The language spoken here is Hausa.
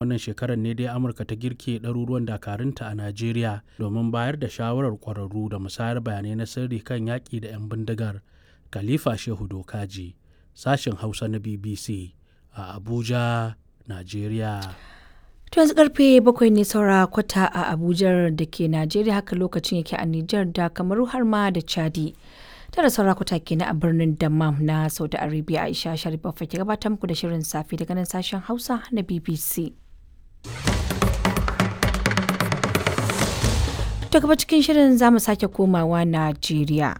wannan shekarar ne dai Amurka ta girke ɗaruruwan dakarunta a Najeriya domin bayar da shawarar ƙwararru da musayar bayanai na sirri kan yaƙi da 'yan bindigar. Khalifa Shehu Dokaji, sashen Hausa na BBC a Abuja, Najeriya. To yanzu karfe 7 ne saura kwata a Abuja da ke Najeriya, haka lokacin yake a Nijar da Kamaru har ma da Chadi. 9 saura kwata kenan a birnin Dammam na Saudi Arabia. Aisha Sharif ke gabatar muku da shirin safe daga nan sashen Hausa na BBC. To gaba cikin shirin za mu sake komawa Najeriya.